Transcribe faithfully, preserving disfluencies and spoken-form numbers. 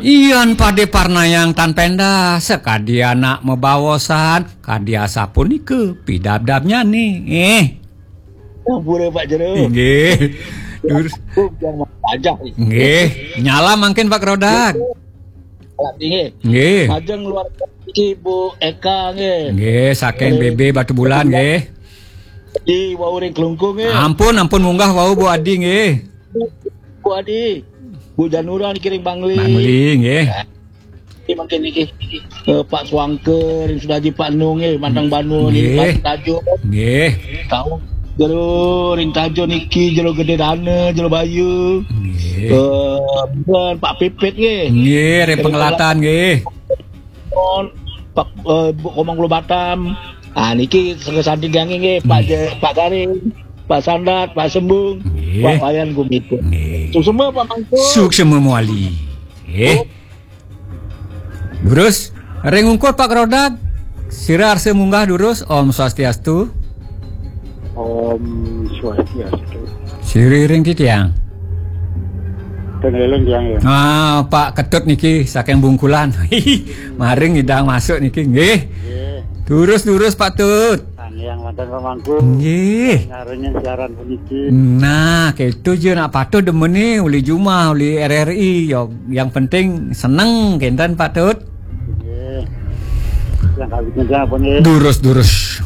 Ian pade parnayang tan pendah, sakadi anak mabaosan, kadi asapunika pidabdabnyane. Eh. Ampura Pak Jero. Nggih. Dur. Yang pajah. Nggih. Nyala mangkin Pak Rodak. Nggih. Nggih. Majeng luar Ibu Eka nggih. Nggih, saking B B Batubulan nggih. Di wau ring Klungkung nggih. Ampun, ampun munggah wau Bu Adi nggih. Bu Adi. Bu Janura niki ring Bangli. Bangli nggih. Iki mangkin niki. Eh, Pak Swangke ring Sudaji Pak Nung nggih, Mantang Banu niki Nggih. Pak Tajo. Nggih. Tahu jero ring Tajo niki, jero Gede Dana, jero Bayu. Nggih. Eh, ben Pak Pipit nggih. Nggih, ring Pengelatan nggih. On Pak eh, Bu Komang Kulo Batam. Ah niki sangga sandi gange nggih Pak Je- Pak Garing, Pak Sandat, Pak Sembung, Nggih. Pak Wayan Gumito. Nggih. Suksema Pak Mangku. Suksema Muali. Nggih. Durus, ring ungkur Pak Rodak. Sira arsa munggah durus, Om Swastiastu. Om Swastiastu. Sira ring titiang. Ten eling tiang ya. Ah, Pak Ketut niki saking Bungkulan. Maring ngidang masuk niki nggih. Nggih. Durus-durus Pak Tut. Tanging wonten Pak Mangku. Nggih. Ngarengin siaran puniki. Nah, keto je nak patuh demene uli jumah, uli R R I. Yo, yang penting seneng kenten Pak Tut. Nggih. Yang kawit nggih apa nggih? Durus-durus.